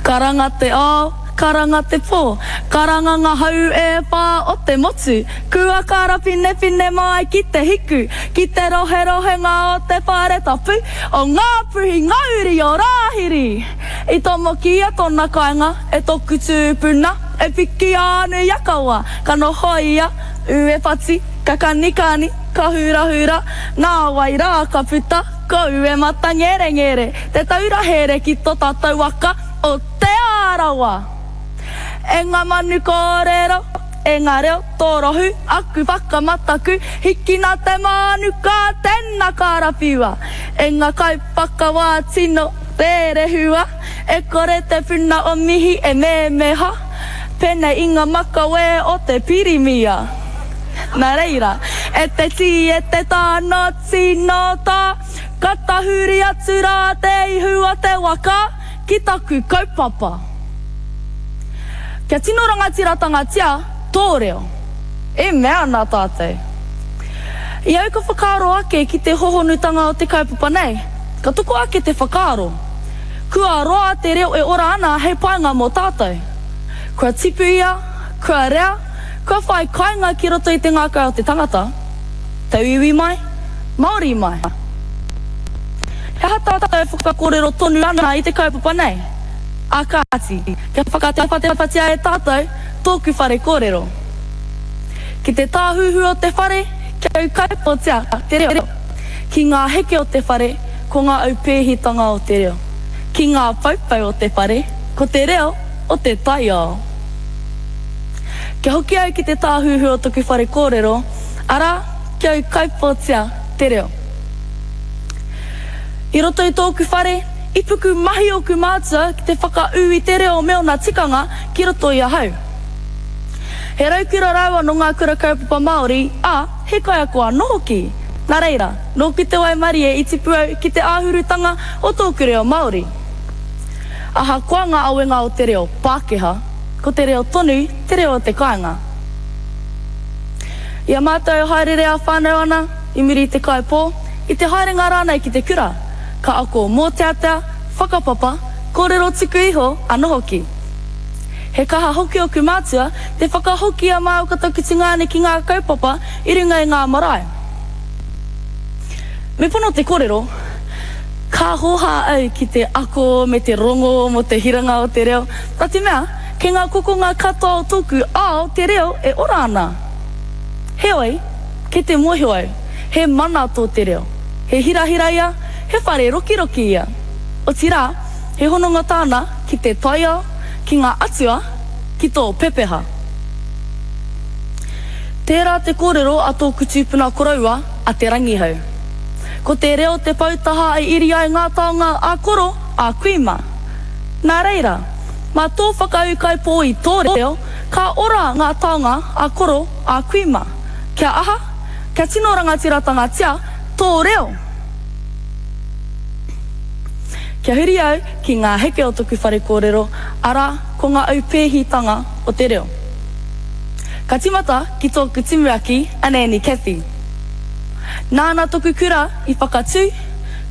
Karanga te ao, karanga te pō, karanga ngā hau e whā o te motu, kua karapinepine mai ki te hiku, ki te roherohenga o te whare tapu o Ngāpuhi Ngauri o Rāhiri! I tomokia tōna kāinga e toku tūpuna, e piki ānu i a kawa, ka noho ia, ue pati, ka kanikani, ka hurahura, nāwai rā ka puta. Ko Uematangerengere te taura here ki to tatou waka o Te Arawa. E nga manu korero, e nga reo torohu, aku whakamataku, hikina te manuka, tena karawhiua. E nga kaiwhakawa tino rerehua, e kore te puna o mihi e memeha, penei i nga makawe o te pirimia. Na reira, e te ti e te ta no Tino tā, ka tahuri atu rā te ihu o te waka ki taku kaupapa. Kia tino rangatiratangatia tō reo. E mea ana tātou. I au ka whakaaro ake ki te hohonutanga o te kaupapa nei, ka toko ake te whakaaro, kua roa te reo e ora ana hei painga mō tātou. Kua tipu ia, kua rea, kua whai kainga ki roto i te ngākau o te tangata. Tauiwi mai, Māori mai. He aha tātou e whakakōrero tonu ana i te kaupapa nei? Ā kāti, kia whakatewhatewhatia e tātou tōku whare kōrero. Ki te tāhuhu o te whare, kia ūkaipōtia te reo. Ki ngā heke o te whare, ko ngā aupēhitanga o te reo. Ki ngā poupou o te whare, ko te reo o te taiao. Kia hoki au ki te tāhuhu o toku whare kōrero, arā, kia ūkaipōtia te reo. I roto i tōku whare, i puku mahi ōku mātua ki te whakaū i te reo me ōna tikanga ki roto i ahau. He raukura rāua nō ngā kura kaupapa Māori, ā, he kaiako anō hoki. Nā reira, nōku te waimarie i tipu au ki te āhurutanga o tōku reo Māori. Ahakoa ngā awenga o te reo Pākehā, ko te reo tonu te reo o te kāinga. I a mātou e haereere ā-whānau ana, i muri i te kai pō, i te haerenga rānei ki te kura, ka ako mōteatea, whakapapa, kōrero tuku iho anō hoki. He kaha hoki oku mātua te whakahoki i a māua ko taku tungāne ki ngā kaupapa i runga i ngā marae. Me pono te kōrero, ka hōhā au ki te ako me te rongo mō te hiranga o te reo, nā te mea, Kei ngā kokonga katoa o tōku ao te reo e ora ana. Heoi, kei te mōhio au, he mana tō te reo. He hirahira ia, he whare rokiroki ia. Otirā, he hononga tāna ki te taiao, ki ngā atua, ki tō pepeha. Tērā te kōrero a tōku tūpuna koroua, a Te Rangihau. Ko te reo te poutaha e iri ai ngā taonga a koro, a kui mā. Nā reira, mā tō whakaūkaipō i tō reo, ka ora ngā taonga a koro, a kui mā. Kia aha? Kia tino rangatiratangatia tō reo! Kia huri au ki ngā heke o toku whare kōrero, arā, ko ngā aupēhitanga o te reo. Ka tīmata ki tōku tumuaki a Nanny Cathy. Nāna toku kura i whakatū,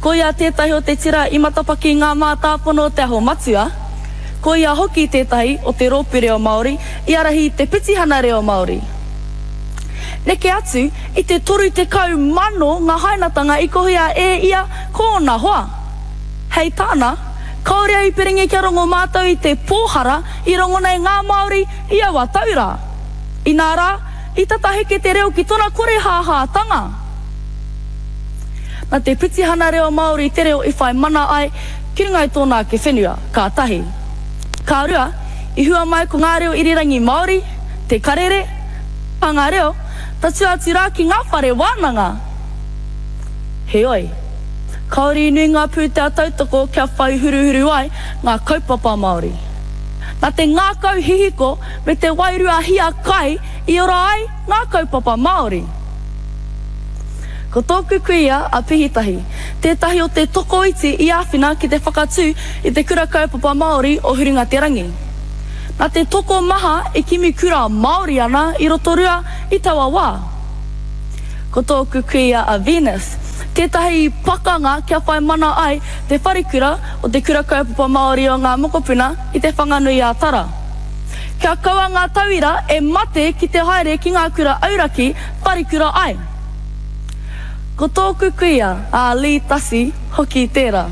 Ko ia tētahi o te tira i matapaki i ngā mātāpono o Te Aho Matua, ko ia hoki tētahi o te rōpū reo Māori i ārahi i te petihana reo Māori. Neke atu i te 30,000 ngā hainatanga i kohia e ia ko ōna hoa. Hei tāna, kāore a Ipiringi kia rongo mātou i te pōhara i rongona e ngā Māori i aua tau rā. Inā rā, i tata heke te reo ki tona korehāhātanga. Na te pitihana reo Māori te reo i whai mana ai ki runga i tōna ake whenua, ka tahi. Ka rua, i hua mai ko ngā reo irirangi Māori, te karere, hanga reo, tatū atu rā ki ngā whare wānanga. Heoi, kāore i nui ngā pūtea tautoko kia whai huruhuru ai ngā kaupapa Māori. Na te ngākau hihiko me te wairua hiakai i ora ai ngā kaupapa Māori. Ko tōku kuia a Pihitahi, tētahi o te tokoiti i āwhina ki te whakatū i te Kura Kaupapa Māori o Huringaterangi. Nā te tokomaha e kimi kura Māori ana i Rotorua i taua wā. Ko tōku kuia a Venus tētahi i pakanga kia whai mana ai te wharekura o Te Kura Kaupapa Māori o Ngā Mokopuna i Te Whanganui-ā-Tara. Kia kaua ngā tauira e mate ki te haere ki ngā kura auraki wharekura ai. Ko tōku kuia a Lee Tasi hoki tērā.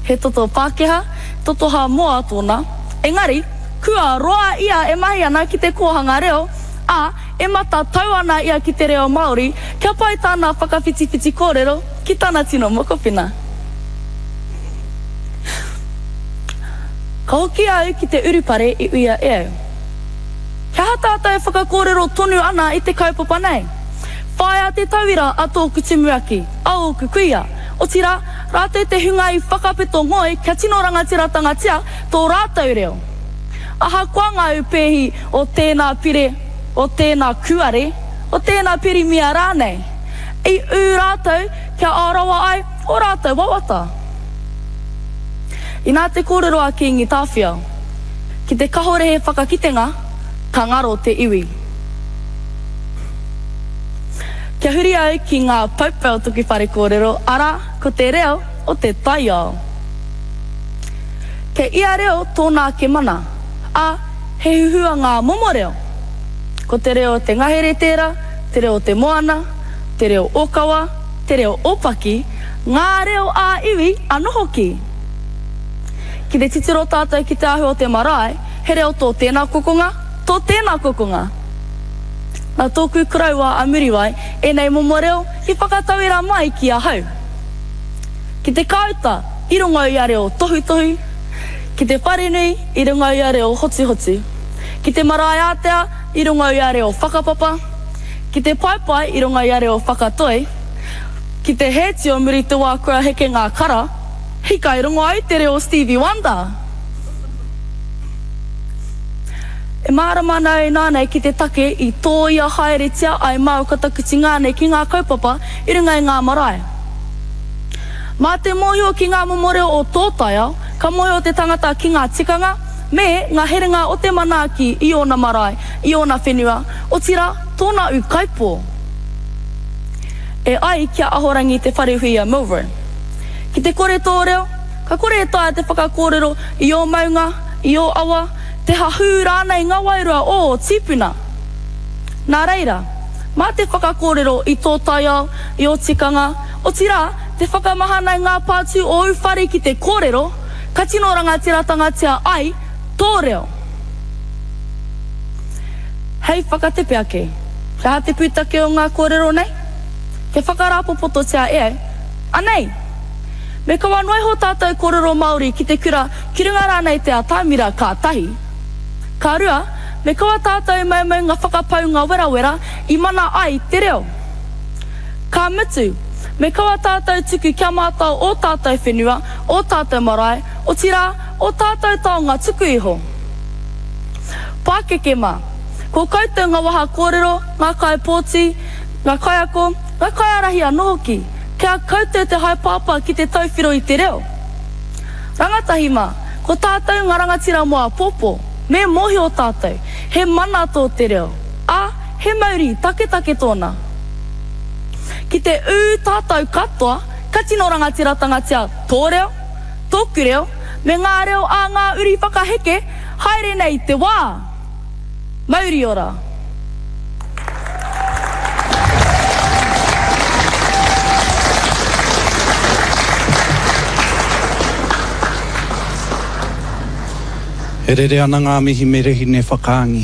He toto Pākehā, toto Hāmoa tōna, engari, kua roa ia e mahi ana ki te kōhanga reo, ā, e matatau ana ia ki te reo Māori kia pai tāna whakawhitiwhiti kōrero ki tana tino mokopuna. Ka hoki au ki te urupare i uia e au. He aha tātou e whakakōrero tonu ana i te kaupapa nei? Whāia te tauira a tōku tumuaki, a ōku kuia, otirā, rātou te hunga i whakapeto ngoi kia tino rangatiratangatia tō rātou reo. Ahakoa ngā upēhi o tēnā pire, o tēnā kūare, o tēnā pirimia rānei, i ū rātou kia ārawa ai ō rātou wawata. Inā te kōrero a Kīngi Tāwhiao, Ki te kahore he whakakitenga, ka ngaro te iwi. Kia huri au ki ngā poupou o toku whare kōrero, arā, ko te reo o te taiao. Kei ia reo tōna ake mana, ā, he huhua ngā momo reo. Ko te reo o te ngahere tērā, te reo o te moana, te reo ōkawa, te reo ōpaki, ngā reo ā-iwi anō hoki. Ki te titiro tātou ki te āhua o te marae, he reo tō tēnā kokonga, tō tēnā kokonga. Nā tōku koroua a Muriwai ēnei momo reo i whakatauira mai ki ahau. Ki te kāuta i rongo i a reo tohutohu, ki te wharenui i runga i a reo hotuhotu, ki te marae ātea i runga i a reo whakapapa, ki te paepae i runga i a reo whakatoi, ki te hēti o muri te wā kua heke ngā kara, hika i rongo ai te reo o Stevie Wonder! E mārama ana au inānei ki te take i tōia haeretia ai māu ko taku tingāne ki ngā kaupapa i runga i ngā marae. Mā te mōhio ki ngā momo reo o tō taiao, ka mōhio te tangata ki ngā tikanga me ngā herenga o te manaaki i ōna marae, i ōna whenua, otirā, tōna ūkaipō. E ai ki a Ahorangi Te Wharehuia Milroy, Ki te kore tō reo, ka kore e taea te whakakōrero i ō maunga, i ō awa, te hahū rānei ngā wairua o ō tīpuna. Nā reira, mā te whakakōrero i tō taiao, i ō tikanga, otirā, te whakamahana i ngā pātū o ū whare ki te kōrero, ka tino rangatiratangatia ai tō reo. Hei whakatepe ake, he aha te pūtake o ngā kōrero nei? Kia whakarāpopototia e au, anei! Me kaua noa iho tātou kōrero Māori ki te kura ki runga rānei te atamira ka tahi. Ka rua, me kaua tātou maumau ngā whakapaunga werawera i mana ai te reo. Ka mutu, me kaua tātou tuku kia mātao ō tātou whenua, ō tātou marae, otirā, ō tātou taonga tuku iho. Pākeke mā, ko koutou ngā waha kōrero, ngā kaipōti, ngā kaiako, ngā kaiārahi anō hoki, kei a koutou te haepāpā ki te tauwhiro i te reo. Rangatahi mā, ko tātou ngā rangatira mō āpōpō, me mōhio tātou, he mana tō te reo, ā, he mauri taketake tōna. Ki te ū tātou katoa, ka tino rangatiratangatia tō reo, tōku reo, me ngā reo ā ngā uri whakaheke, haere nei te wā! Mauri ora! E rere ana ngā mihi me Rehine Whakaangi.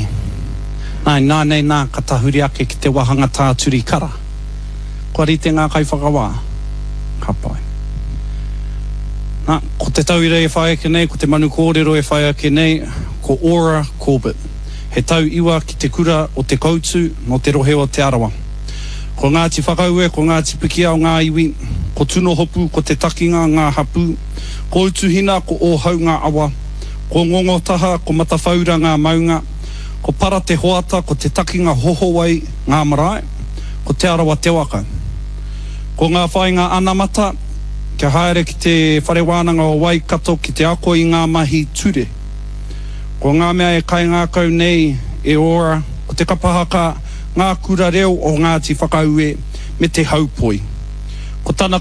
Nā, inānei nā ka tahuri ake ki te wāhanga tāturi kara. Kua rite ngā kaiwhakawā? Ka pai. Nā, ko te tauira e whai ake nei, ko te manu kōrero e whai ake nei, ko Aura Corbett. He tau iwa ki te kura o Te Koutu, nō te rohe o Te Arawa. Ko Ngāti Whakaue, ko Ngāti Pikiao ngā iwi, ko Tunohopu, ko Te Takinga ngā hapū, ko Utuhina, ko Ōhau ngā awa, ko Ngongotaha, ko Matawhaura ngā maunga, ko Para Te Hoata, ko Te Takinga Hohowai ngā marae, ko Te Arawa te waka. Ko ngā whāinga anamata, kia haere ki te Whare Wānanga o Waikato ki te ako i ngā mahi ture. Ko ngā mea e kaingākau nei e Ora, ko te kapa haka, ngā kura reo o Ngāti Whakaue, me te haupoi. Ko tana.